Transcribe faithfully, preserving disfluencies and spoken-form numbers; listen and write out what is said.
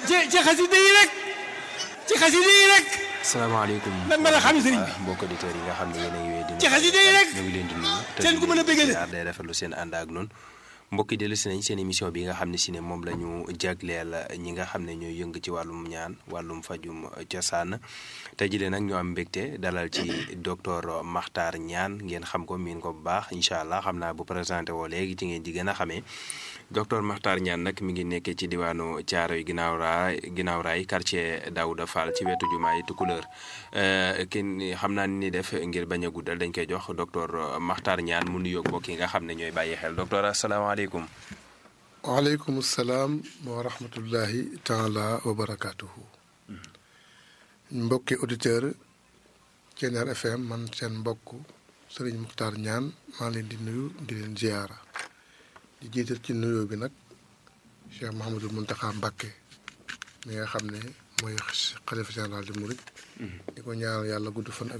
ci ci xasida yi rek ci xasida yi rek. salaamaaleykum. lan mën a xam sëriñ bi mbokk auditeurs yi nga xam ne yéen a ngi wéy di. ci xasida yi rek ñu ngi leen di nuyu. seen ku mën a bëggee te day rafetlu seen ànd ak noonu. mbokk yi dellu si nañ seen émission bi nga xam ne si ne moom la ñu jagleel ñi nga xam ne ñooy yëng ci wàllum ñaan wàllum fajum cosaan tey jii nag ñu am mbégte dalal ci docteur Makhtar Niane ngeen xam ko miin ko bu baax incha allah xam naa bu présenté woo léegi ci ngeen di gën a xamee docteur Makhtar Niane nag mi ngi nekkee ci diwaanu Thiaroye ginnaaw raay ginnaaw raay quartier Daouda Fall ci wetu jumaay Tukulóor kenn xam naa ni def ngir bañ a guddal dañ koy jox docteur Makhtar Niane mu nuyoog mbokk yi nga xam ne ñooy bàyyi xel docteur asalaamaaleykum. waaleykum salaam wa rahmatullahi taala wa barakaatuhu. mbokki auditeur Thiéniere F M man seen mbokk Serigne Makhtar Niane maa leen di nuyu di leen ziyaara di jiital ci nuyoo bi nag Cheikh Mouhamadul Mountakha Mbacké mi nga xam ne mooy xalifa général di Mouride. di ko ñaanal yàlla gudd fan ak